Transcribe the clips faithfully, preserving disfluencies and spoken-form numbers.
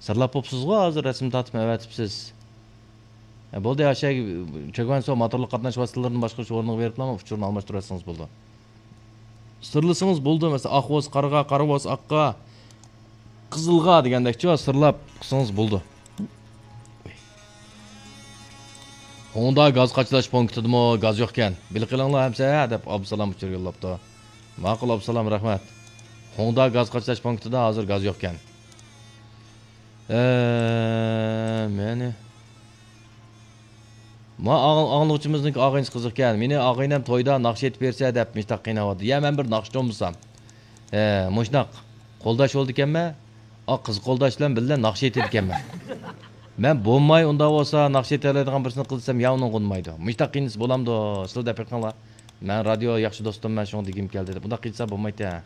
سىرلاپ بوپسىزغۇ، ھازىر رەسىم تارتىپ ئەۋەتىپسىز. ھە، بولدى، ئاشۇ چۆگۈنسۇ موتورلۇق قاتناش ۋاسىتىلىرىنى باشقۇرۇش ئورنىغا بېرىپلا ئۇچۇرنى ئالماشتۇرۇۋەتسىڭىز بولىدۇ. سىرلىسىڭىز بولىدۇ، مەسىلەن، ئاقۋاس قارىغا، قارا بولسا ئاققا، قىزىلغا دېگەندەكچۇ، سىرلاپ قىلسىڭىز بولىدۇ. ھوڭدا گاز قاچىلاش پونكىتىدىمۇ گاز يوقكەن. بىلىپ قېلىڭلار ئەمسە دەپ ئابدۇسالام ئۇچۇر يوللاپتۇ. ماقۇل ئابدۇسالام، رەھمەت. ھوڭدا گاز قاچىلاش پونكىتىدا ھازىر گاز يوقكەن. ئە، مېنى. ما ئاڭ-، ئاڭلىغۇچىمىزنىڭكى ئاغىنىسى قىزىقكەن. مېنى ئاغىنەم تويدا ناخشا ئېيتىپ بەرسە دەپ مۇشتاق قىيناۋاتىدۇ. يا مەن بىر ناخشىچى بولمىسام. ھە، مۇشۇنداق قولداش بولىدىكەنمەن. ئا، قىز قولداش بىلەن بىللە ناخشا ئېيتىدىكەنمەن. مەن بولماي ئۇنداق بولسا ناخشا ئېيتالايدىغان بىرسىنى قىلسام يا ئۇنىڭغا ئۇنىمايدۇ. مۇشۇنداق قىينىسا بولامدۇ؟ سىلەر دەپ بېقىڭلار. مەن رادىيو ياخشى دوستۇم، مەن شۇڭا دېگۈم كەلدى دەپ. ئۇنداق قىلسا بولمايتتى.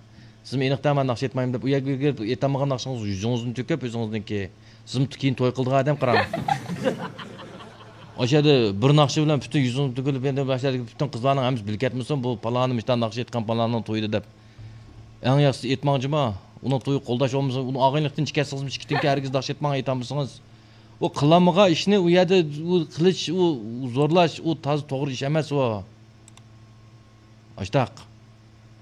سىزمۇ ئېنىق دەڭ، مەن ناخشا ئېيتمايمەن دەپ، ئۇ يەرگە بېرىپ ئېيتالمىغان ناخشىڭىز يۈزىڭىزدىن تۆكۈپ ئۆزىڭىزنىڭكى. سىزمۇ كېيىن توي قىلىدىغان ئادەم قاراڭ. ئاشۇ يەردە بىر ناخشا بىلەن پۈتۈن يۈزىڭىز تۆكۈلۈپ، ئەمدى ئاشۇ يەردىكى پۈتۈن قىزلارنىڭ ھەممىسى بىلىپ كەتمىسۇن، بۇ پالانى مۇشۇنداق ناخشا ئېيتقان پالاننىڭ تويىدا دەپ. ئەڭ ياخشىسى ئېيتماڭ جۇما. ئۇنىڭ تويى قولداش بولمىسا، ئۇنىڭ ئاغىنىلىقتىن چىقىسىڭىزمۇ ئىككىدىنكى ھەرگىز ناخشا ئېيتماڭ، ئېيتالمىسىڭىز. ئۇ قىلالمىغان ئىشنى ئۇ يەردە ئۇ قىلىش، ئۇ زورلاش، ئۇ تازا توغرا ئىش ئەمەس ئۇ. ئاشتاق.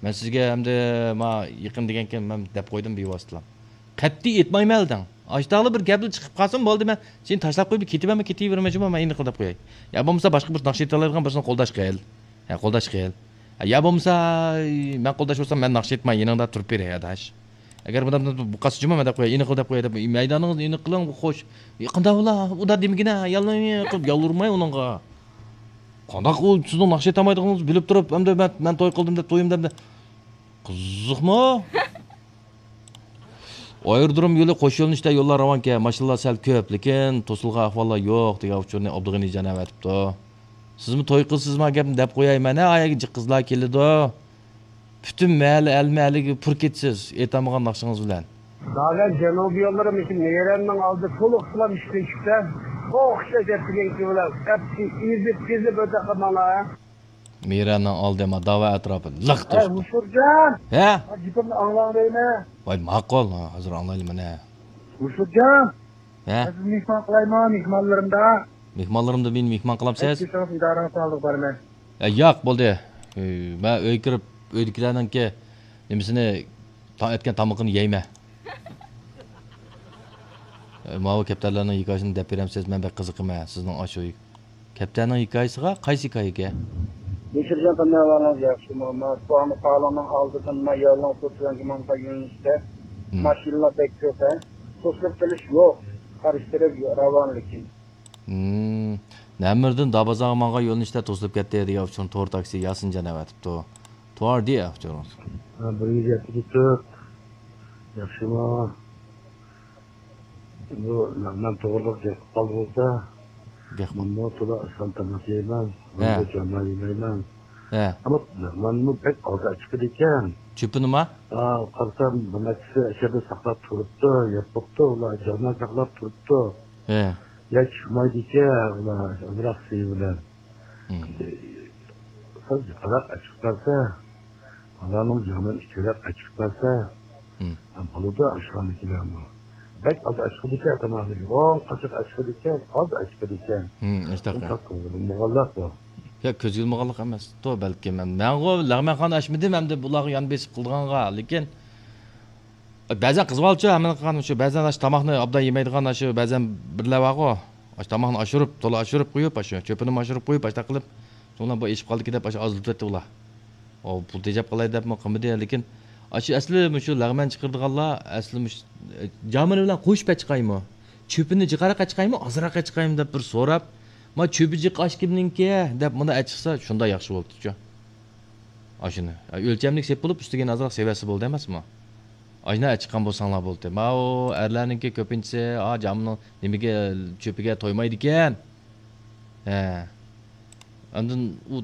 مەن سىزگە ئەمدى ما يېقىن دېگەنكىن مەن دەپ قويدۇم بىۋاسىتىلا. قەتئىي ئېيتمايمەن دەڭ. ئاشتاقلا بىر گەپلا چىقىپ قالسۇن بولدى، مەن سېنى تاشلاپ قويۇپ كېتىۋەرمەن، كېتىۋېرىمەن جۇما، مەن ئېنىقلا دەپ قوياي. يا بولمىسا باشقا بىر ناخشا ئېيتالايدىغان بىرسىنى قولداش قىل. ھە، قولداش قىل. ھە، يا بولمىسا مەن قولداش بولسام مەن ناخشا ئېيتماي يېنىڭدا تۇرۇپ بېرەي ئاداش. ئەگەر بۇنداق بۇ قالسا جۇما مەن دەپ قوياي، ئېنىقلا دەپ قوياي دەپ مەيدانىڭىزنى ئېنىق قىلىڭ، خوش. يېقىندا ئۇلا ئۇدا دېمىگىنە، ياللىنى قىلىپ يالۋۇرماي ئۇنىڭغا. قانداق ئۇ سىزنىڭ ناخشا ئېيتالمايدىغىنىڭىزنى بىلىپ تۇرۇپ، ئەمدى مەن، مەن توي قىلدىم دەپ تويۇم دەپ. قىزىقمۇ؟ ئايرودروم يولى قوش يۆنىلىشتە يوللار راۋانكەن، ماشىنىلار سەل كۆپ، لېكىن توسۇلغان ئەھۋاللار يوق، دېگەن ئۇچۇرنى ئابدۇغېنىجان ئەۋەتىپتۇ. سىزمۇ توي قىلسىزما گەپنى دەپ قوياي، مانا ئاياغ جىق قىزلار كېلىدۇ. پۈتۈن مەھەللە ئەلمە ئەلىگە پۇر كېتىسىز، ئېيتالمىغان ناخشىڭىز بىلەن. داۋەت جەنۇبىي يوللىرى مۇشۇ مېرەننىڭ ئالدى تولۇق ئىشلەپ ئىشلىشىپتۇ. ئوخشاش دەپ دېگەنكى بىلەن ئەپسى ئېزىپ، ئېزىپ ئۆتە قالماڭلار. مىرەنىڭ ئالدى ما داۋا ئەتراپى لىق توشتى. مۇشۇرجان! ھە؟ گېپىمنى ئاڭلاڭ دەيمەن. ۋاي، ماقۇل، ھازىر ئاڭلايلى مانا. مۇشۇرجان! ھە؟ سىزنى مېھمان قىلايمۇ مېھمانلىرىمدا؟ مېھمانلىرىمدا مېنى مېھمان قىلامسىز؟ ئىدارىڭىزنى سالدۇق بارىمەن. ئە، ياق، بولدى. ئە، مەن ئۆيگە كىرىپ، ئۆيدىكىلەرنىڭكى نېمىسىنى، تاڭ ئەتكەن تامىقىنى يەيمەن. ئە، ماۋۇ كەپتەرلەرنىڭ ھېكايىسىنى دەپ بېرەمسىز؟ مەن بەك قىزىقىمەن سىزنىڭ ئاشۇ كەپتەرنىڭ ھېكايىسىغا؟ قايسى ھېكايىگە؟ يوشۇرجان قېنى ئەھۋالىڭىز ياخشىمۇ؟ ما سوئالنى قالىنىڭ ئالدىدىن ما يولنىڭ توسۇلغان ماڭغان يۆنىلىشتە ماشىنىلار بەك كۆپ ھە؟ توسۇلۇپ قېلىش يوق. قارشى تەرەپ راۋان لېكىن. نەمىردىن دابازاغا ماڭغان يۆنىلىشتە توسۇلۇپ كەتتى دېگەن ئۇچۇرنى تور تاكسى ياسىنجان ئەۋەتىپتۇ. تور دېيە ئۇچۇرىڭىز. بىر يۈز يەتتە تۆت. ياخشىمۇ؟ بۇ لەغمەن توغرىلىق گەپ قىلىپ قالدى بولسا، گەپ قىل. مەنمۇ تولا ئاشخانا تاماق يەيمەن، ھە. مەنمۇ جاملا يېمەيمەن. ھە. ئەمما لەغمەنمۇ بەك ئاز ئەچىقىدىكەن. چۆپىنىما؟ ھا، قارىسام، بىر نەچچىسى ئەشەدە ساقلاپ تۇرۇپتۇ، يەپ بوپتۇ، ئۇلار جاملا ساقلاپ تۇرۇپتۇ. ھە. يا چىقمايدىكەن، ئۇلار ئازراق سۈيى بىلەن. ھىم. سەل جىقراق ئەچىقىپ بەرسە، ئۇلارنىڭ جامىنى ئىچىرەك ئەچىقىپ بەرسە، ھىم. بولىدۇ، ئاشخانىدىكىلەرمۇ. بەك ئاز ئەچىقىدىكەن، تاماقنى يوغان قاچاق ئەچىقىدىكەن، ئاز ئەچىقىدىكەن. ھىم، ئاشتاق. ئۇنداق قىلمىغانلىق بۇ. يا، كۆزگە ئىلمىغانلىق ئەمەس. تو، بەلكىم مەن، مەنغۇ لەغمەنخانا ئاچمىدىم ئەمدى بۇلارغا يان بېسىپ قىلىدىغانغا، لېكىن بەزەن قىزىۋالىدۇ، ھەممىنى قىلغان شۇ. بەزەن ئاشۇ تاماقنى ئوبدان يېمەيدىغان، ئاشۇ بەزەن بىرلەر بارغۇ. ئاشۇ تاماقنى ئاشۇرۇپ، تولا ئاشۇرۇپ قويۇپ، ئاشۇ چۆپىنىمۇ ئاشۇرۇپ قويۇپ، ئاشۇنداق قىلىپ، شۇڭلار بۇ ئېشىپ قالدىكى دەپ ئاشۇ ئازلىتىۋەتتى ئۇلار. ئۇ پۇل تېجەپ قالاي دەپمۇ قىلمىدى، لېكىن ئاشۇ ئەسلى مۇشۇ لەغمەن چىقىرىدىغانلار ئەسلى مۇشۇ، ئە، جامىنى بىلەن قوشۇپ ئەچىقايمۇ؟ چۆپىنى جىقراق ئەچىقايمۇ، ئازراق ئەچىقايمۇ دەپ بىر سوراپ، ما چۆپى جىق ئاش كىمنىڭكى دەپ مۇنى ئەچىقسا شۇنداق ياخشى بولىدىچۇ. ئاشۇنى ئۆلچەملىك سېلىپ بولۇپ، ئۈستىگە ئازراق سېۋەتسە بولدى ئەمەسمۇ؟ ئاشۇنداق ئەچىققان بولساڭلار بولدى. ماۋۇ ئەرلەرنىڭكى كۆپىنچىسى، ئا، جامنىڭ نېمىگە، چۆپىگە تويمايدىكەن. ھە. ئاندىن ئۇ،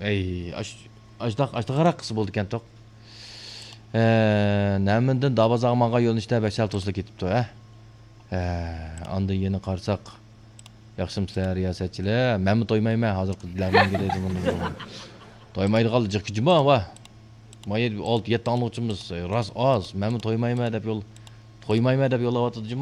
ئەي، ئاش-، ئاشتاق، ئاشتاق ھاراق قىلسا بولىدىكەن توق. ھە، نەمىندىن دابازاغا ماڭغان يۆنىلىشتە بەك سەل توسۇلۇپ كېتىپتۇ، ھە. ھە، ئاندىن يەنە قارىساق، ياخشىمۇسىلەر رىياسەتچىلەر؟ مەنمۇ تويمايمەن، ھازىرقى لەرمەنگە دەيدۇ بۇنى. تويمايدىغان جىق جۇما، ۋا. ما يەتتە، ئالتە، يەتتە ئاڭلىغۇچىمىز، راست ئاز. مەنمۇ تويمايمەن دەپ يول، تويمايمەن دەپ يوللاۋاتىدۇ جۇما.